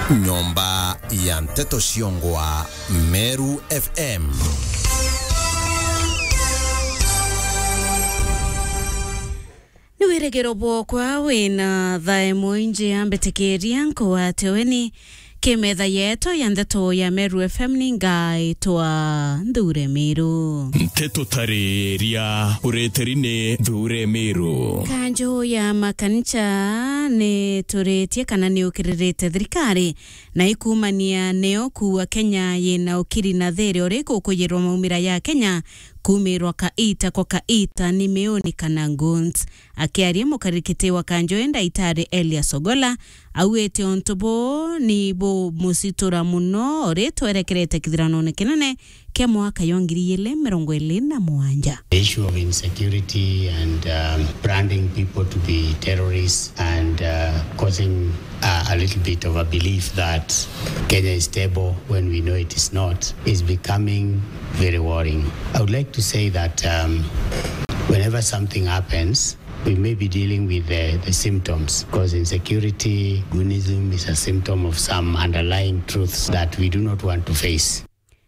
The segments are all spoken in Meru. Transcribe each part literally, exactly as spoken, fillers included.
Nyomba ya nteto ciongwa Meru F M. Ni wirigiro bwokwa wina thaa imwe inji ya mbitikiria nkwate weni ki metha yetu ya nteto ya Meru F M ni ngaitwa Nthure Miru. Nteto tariria ureteri ni Nthure Miru. Kanju ya makanisa ni turitie kana ni ukiririte thirikari na ikumania neo kuua Kenya yina ukiri na thiiri uriku kuyirwa maumira ya Kenya kumirwa kaita kwa kaita ni miuni kana goons. Akiaria mukarikiti wa kanju ii Ndaitari Elias Ogola, augite untu buu ni bumucitura muno uri twerekerete kithiranone kinene kia mwaka jwa ngiri igiri mirongo iri na mugwanja. The issue of insecurity and, um, branding people to be terrorists and, uh, causing, uh, a little bit of a belief that Kenya is stable when we know it is not, is becoming very worrying. I would like to say that, um, whenever something happens, we may be dealing with the, the symptoms, because insecurity, goonism is a symptom of some underlying truths that we do not want to face.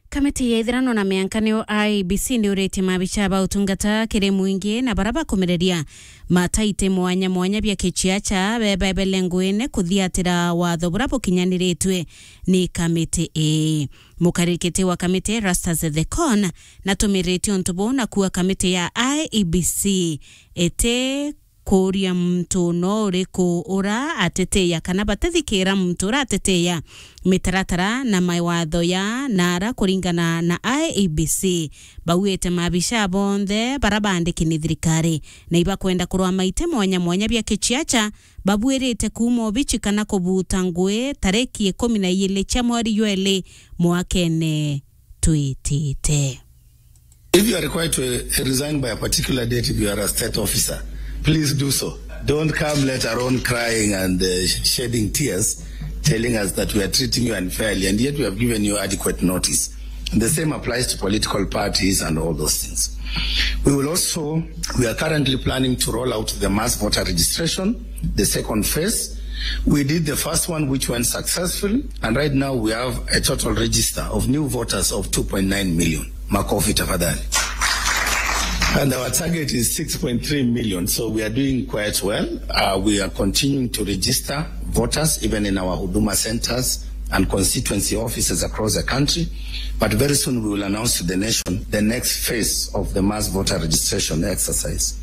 Kamiti ya ithirano na mianka niyo I E B C ni uritie mabicha ba utungata kiri mwingi na bara bakumireria mataite mwanya mwanya bia kiciacha bebebele nguine kuthiatira watho bura bukinyaniritue ni kamiti ii. Mukarikiti wa kamiti Erastus Ethekon natumirite untu buu na kuuga kamiti ya I E B C iti kuuria muntu no uriku ura atitiia kana batithikira muntu ura atitiia mitaratara na mawatho ya naara kuringana na I E B C. Bauite mabicha bonthe bara baandiki ni thirikari na ibakwenda kurwa maite mwanya mwanya bia kiciacha babuirite kuuma obichi kana kubuta ngui tariki ikumi na igiri cia mweri jwa iri mwakene twitite. If you are required to, uh, resign by a particular date, if you are a state officer, please do so. Don't come later on crying and, uh, shedding tears, telling us that we are treating you unfairly, and yet we have given you adequate notice. And the same applies to political parties and all those things. We will also, we are currently planning to roll out the mass voter registration, the second phase. We did the first one, which went successful, and right now we have a total register of new voters of two point nine million. Makofi tafadhali. And our target is six point three million, so we are doing quite well. Uh, we are continuing to register voters, even in our Huduma centers and constituency offices across the country. But very soon we will announce to the nation the next phase of the mass voter registration exercise.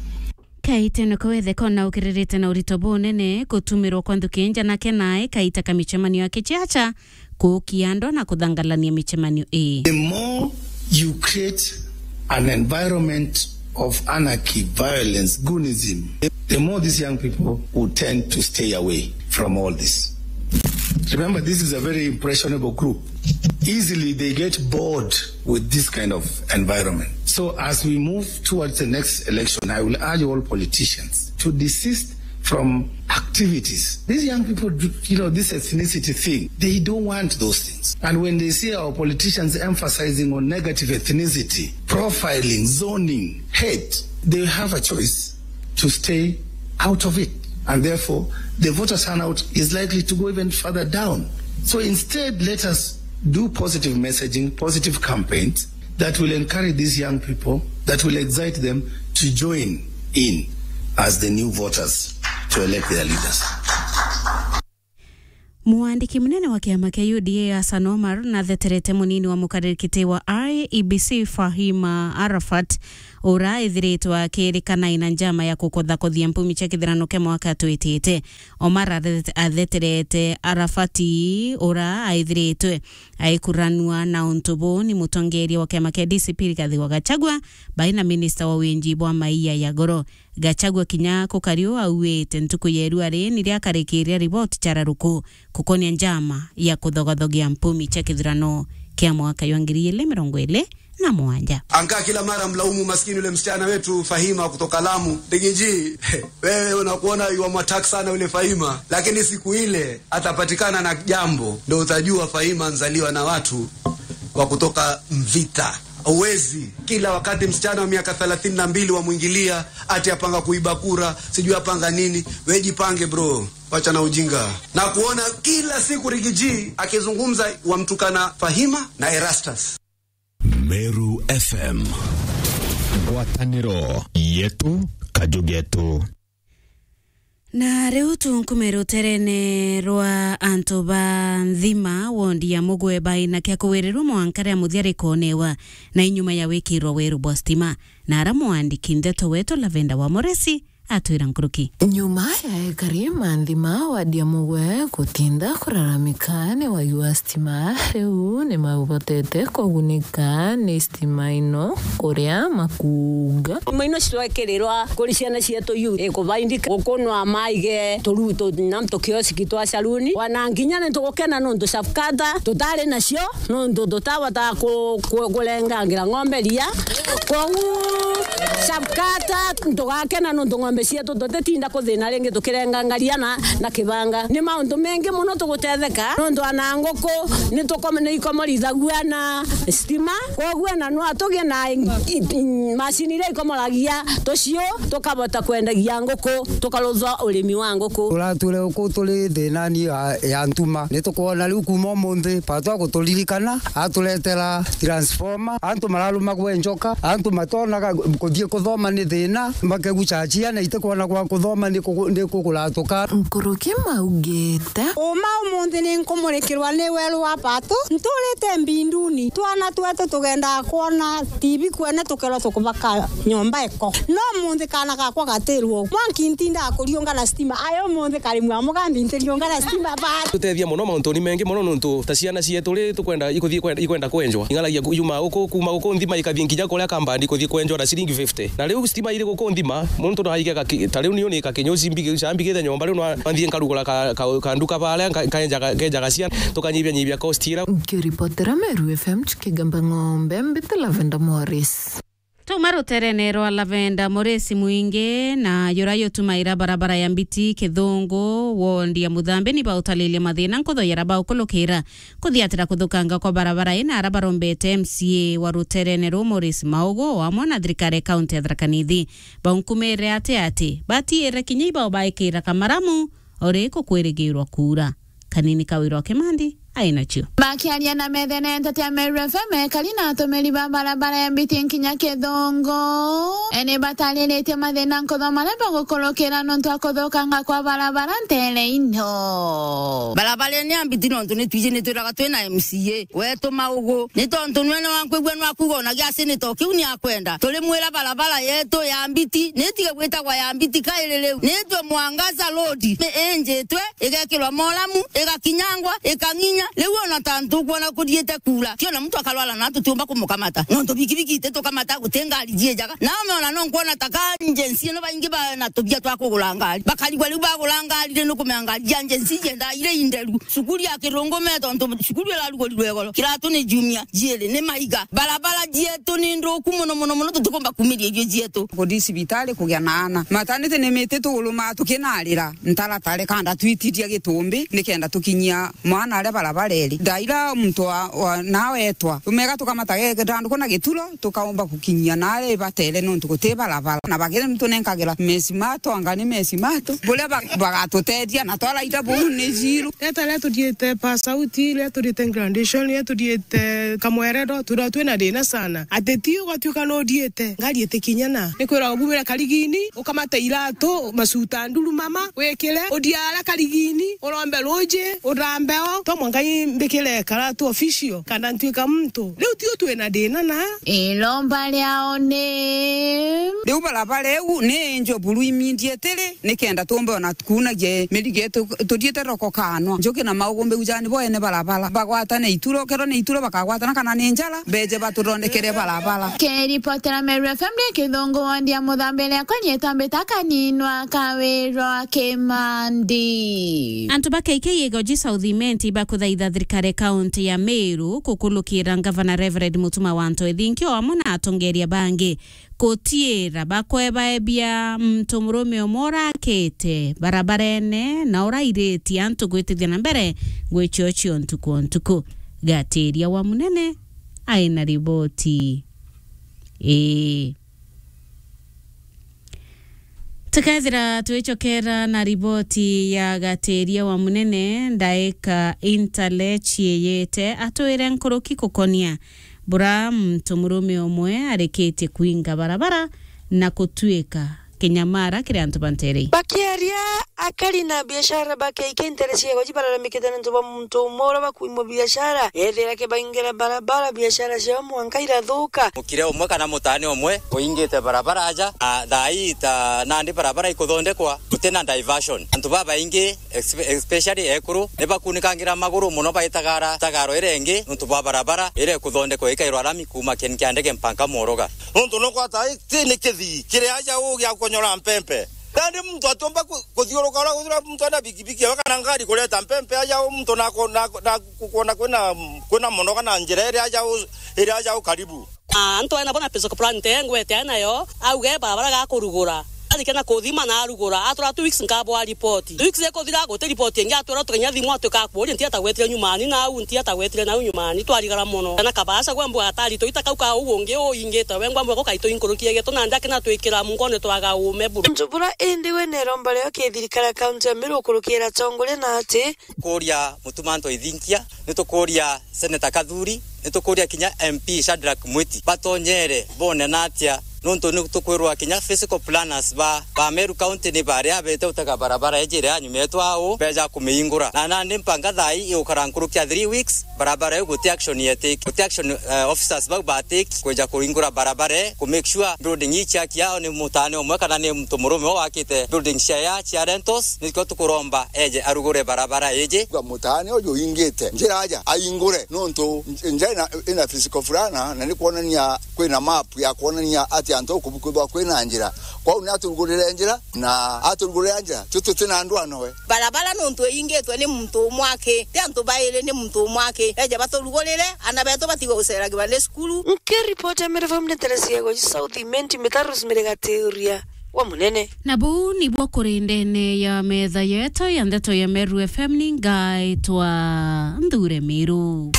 Kaitene kawethe kona ukiririte na urito bunene gutumirwa kwa nthuki nja na kenae kaita ka micemanio ya kiciacha, kuukia andu na kuthangalania micemanio ii. The more you create an environment of anarchy, violence, goonism, the more these young people will tend to stay away from all this. Remember, this is a very impressionable group. Easily they get bored with this kind of environment. So as we move towards the next election, I will urge all politicians to desist from activities. These young people, do- you know, this ethnicity thing, they don't want those things. And when they see our politicians emphasizing on negative ethnicity, profiling, zoning, hate, they have a choice to stay out of it. And therefore, the voter turnout is likely to go even further down. So instead, let us do positive messaging, positive campaigns that will encourage these young people, that will excite them to join in as the new voters to elect their leaders. Mwandiki munene wa kiama kia U D A Hassan Omar natheterete munini wa mukariri kiti wa I E B C Fahima Arafat, ura ethiritwe akirikana ina njama ya kukothakothia mpumi cia kithirano kia mwaka twitite. Omar athet- atheterete Arafat, ura aethiritwe aikuranua na untu buu ni mutongeria wa kiama kia D C P Rigathi wa Gachagua, bai na minista wa winji bwa maia ya goro. Gachagua kinya kukari uu auite ntuku ya irua ri niria akarikiria riboti cia raruku kukonia njama ya kuthogothogia mpumi cia kithurano kia mwaka jwa ngiri igiri mirongo iri na mugwanja. Ankaa kila mara mlaumu maskini yule msichana wetu Fahima kutoka Lamu. Rigiji, wewe unakuona yuamwattack sana yule Fahima, lakini siku ile atapatikana na jambo, ndo utajua Fahima nzaliwa na watu wa kutoka Mvita. Uwezi kila wakati msichana wa miaka thelathini na mbili wamwingilia, ati apanga kuiba kura, sijui apanga nini. We jipange, bro. Wacha na ujinga. Na kuona kila siku Rigiji akizungumza wamtukana Fahima na Erastus. Meru F M. Ngwataniro yetu, kaju getu. Na riu tunkume ruterene rwa antu ba Nthima, wondi ya Mugwe, baina kia kuwirirwa mwanka ria muthia rikonewa na inyuma ya wikirwa weru bwa stima. Na ara mwandiki ndeto wetu Lavenda wa Moresi atwira nkuruki. Nyuma ya ekari ma Nthima wadi ya Mugwe gutinda kuraramika ni wagi wa stima, riu ni maubotete kugunika ni stima ino kuria makuga. Nyuma ino citwekirirwa kuri ciana cietu yu, ikubaindika gukunwa maige turu-, tu-, na tukioski twa saluni. Wana nginya ni tugukena nontu safkata tutari nacio. Nontu tutahota ku-, ku-, kurengangira ng'ombe ria. Koguo, Safkata, ntugakena nontu ng'ombe cietu tutitinda kuthina ringi tukirenganga ria na, na kibanga. Ni mauntu mengi mono tugutetheka, nontu ana nguku ni tukome-, ni ikomorithagua na stima. Koguo, na no tugie na i-, i-, i-, macini iria ikomoragia tuciu, tukabota kwendagia nguku, tukarutha urimi wa nguku. Turatwire uku turi thinani ya, ya ntuma. Ni tukwona riu kuma umunthi, Patu aguturirikana, aturetera transformer. Antu mararumagwa njoka, antu matonaga kuthii kuthoma ni thina, makegucachia na itikwona gwa kuthoma ni kugu-, ni kuguratuka. Nkuruki maugite. Uma umunthi ni nkumurikirwa ni weru wa Patu, nturite mbinduni. Twana twetu tugendaga kwona T V kwene tukerwa tukubaka nyomba iko. No umunthi kana gakwa gatirwo. Mwanki ntindaga kuriunga na stima. Ayo umunthi kari mwa mugambi ntiriunga na stima bari. Tutethia mono mauntuni mengi mono nontu ta ciana cietu ri tukwenda ikuthii kwenda, ikwenda kwenjwa. Ing'aragia ku-, yuma uku, kuma uku Nthima ikathii nginya kuria Kambandi kuthii kwenjwa na ciringi fifty. Na riu stima iri guku Nthima, muntu no aige gaki-, ta riu niu ni kakinyu cimbi-, cambigite nyomba riu no nthii nkarugura ka, ka, ka nduka baria, nka-, nkaenjaga, nkaenjaga ciana, tukanyibia nyibia cost ira. Nkiripotera Meru F M Chikigamba Ng'ombe, mbite Lavenda Morris. Tuma ruterene rwa Lavenda Moresi Mwingi na yura yutumaira barabara ya Mbiti Kithungu, wondi ya Muthambi, ni bautalilia mathina nkutho yara baukulukira kuthiatira kuthukanga kwa barabara ina ara barombete M C A wa ruterene ruu Morris Maugu o amwe na thirikari ya kaunti ya Tharaka Nithi. Baunkumire ati ati batiire kinya ibao baikira kamaramu o riku kwirigirwa kuura. Kanini Kawira wa Kimandi ai nacio. Bakiaria na methene ntete ya Meru F M, ekari na atumiri ba barabara ya Mbiti nkinya Kithungu, eni batariritie mathina nkutho maria bagukurukira nontu wa kuthukanga kwa barabara ntere ino. Barabara ino ya Mbiti nontu ni twiji ni twiraga twina M C A wetu Maugu, ni tontu nwene wankwigua nwakuga ona giaci ni to kiu ni akwenda. Turimwira barabara yetu ya Mbiti ni itige gwitagwa ya Mbiti kairi riu, ni itwe Mwangaza Road, ni injitwe igekirwa moramu, igakinyangwa, ikang'inya. Riu ona ta ntukwona kuthiite kuura, ti ona muntu akarwara na tutiumba kumukamata. Nontu bikibiki ititukamata, guti ngari jiijaga. Na umeona no nkwona ta ka agency ino baingi bana tubia twa kugura ngari. Bakarigwa riu bagura ngari ri, nukumenya ngari ja agency jiendaa iri inderu. Cukuru ya Kirungume, tontu cukuru irarugurirwe igoro. Kiratu ni jumia, jiiri ni maiga. Barabara jietu ni nthuku mono, mono, mono, tutikumba kumiria irio jietu. Kuthi cibitari kugia na ana. Maternity ni miti tugurumaa tukinarira. Ntaratare kanda twitiria gitumbi nikenda tukinyia mwana aria barabara iri. Thaa ira muntu wa, wa, nawe etwa, tumega tukamata ge-, githanduku na gituro, tukaumba gukinyia naria ibatere nontu guti barabara. Na bagire nitunenkagira mesimato, anga ni mesimato. Buria ba-, bagatutethia na twaraira buu ni zero. Riria tuthiite pass out, riria tuthiite graduation, riria tuthiite kamwerero, twiragwa twina thina sana. Ati ti ugatuika nuthiite, ngari itikinyana. Ni kwiragwa bumire karigini, ukamate iratu, macuta nduru mama, wikire, uthia ara karigini, urombe ruuji, uthambe o, to mwanka imbikire karatu official, kana ntuika muntu. Riu tiu twina thina na. Iromba riao ni. Riu barabara iu ni injo buru immediately, nikenda tumbe ona kuunagia mirigo yetu, tuthiite roko kanwa. Njuki na Maugu mbigujani bo ene barabara. Bagwatane ituro, kero ni ituro bakagwatana kana ni njara, beje batuthondekere barabara. Kiripotera Meru F M ni Kithungu wondi ya Muthambi, riakwa ni Tambita Kaninwa Kawirwa Kimandi. Antu ba K K Igoji South Imenti bakuthaitha thirikari ya kaunti ya Meru kukulukira Ngavana Reverend Mutuma wa Ntoithinki o amwe na atongeria bangi gutiira bakwebaebia muntu murume umwe urakite barabarene na urairitie antu gwitithia na mbere ngwicio cio ntuku o ntuku. Gatiria wa Munene ai na riboti ii. Tukethira twicokera na riboti ya Gatiria wa Munene, ndaika intale ciiyite atwire nkuruki kukonia bura muntu murume umwe arikitie kuinga barabara na kutuika kinyamara kiri antu ba ntere ii. Bakiaria, akari na biashara ba K K ntere cia Igoji bararamikite nontu bwa muntu umwe uria bakuimwa biashara, ethira kibaingira barabara, biashara ciao mwanka irathuka. Mukire umwe kana mutane umwe uingite barabara aja, a, thaa ii ta nandi barabara ikuthondekwa, gutina diversion. Antu babaingi, espe-, especially ekuru, ni bakunikangira maguru muno baitagara tagaro iria ingi nontu bwa barabara iria ikuthondekwa ikairwa rami kuuma kieni kia ndege mpanka Moroga. Nontu no kwata ti ni kithii kiri aja u gia konyora mpempe. Nandi muntu atiumba ku-, kuthiuruka uria guthura muntu ena bikibiki ewe kana ngari kureta mpempe aja u muntu na ku-, na ku-, na ku-, kuona kwina, kwina muno kana njira iria aja u-, iria aja u karibu. Na antu ena bona pesa plan te ngwete nayo, auge barabara ga kurugura. Arikana kuthima na arugura, atura two weeks nkabwa report. Two weeks ikuthira guti report ingi atwira tukinya thimu atuika akuuria nti atagwetire nyumani na au nti atagwetire nau nyumani, twarigara muno. Na kabasa gwe mbwa atari tuita kau ka uu ungi uingite we ngwa mbwa gukaito inkurukie geto na ndakina twikira mungone twaga ume buru. Njubura indi we neromba rio kithirikari ya kaunti ya Meru ukurukira atongoria na ati kuria Mutuma Anto Ithinkia, ni tukuria Senator Kathuri, ni tukuria kinya M P Shadrack Mwiti batonyere bone na atia, nontu ni tukwirwa kinya physical planners ba, ba Meru County ni baria bete utega barabara iji iria nyuma yetu au beja kumiingura. Na nandi mpanga thaa ii igukara nkuruki ya three weeks, barabara iu guti action yetiki, guti action, eh, officers bau batiki kwija kuringura barabara ii, ku make sure building ii ciaki yao ni mutane umwe kana ni muntu murume o wakite building cia ya cia rentals, nikio tukuromba eje arugure barabara iji. Kwa mutane uju uingite njira aja aingure, nontu nj-, nja ina, ina physical fulana na ni kwonania kwina map ya kwonania ati antu uku bukwithwa kwina njira. Kwou ni aturugurire njira, na aturugurira njira, tio tuti na ndwano we. Barabara nontu iingitwe ni muntu umwe aki, ti antu bairi, ni muntu umwe aki. Eje baturugurire, ana betu batigwe guceragirwa ni cukuru. Nkiripota Meru F M ni Teresia Goji South Imenti Mitaros Mirigatiuria wa Munene. Na buu nibuo kuri ndene ya metha yetu ya ndeto ya Meru F M, ni ngaitwa Nthure Miru.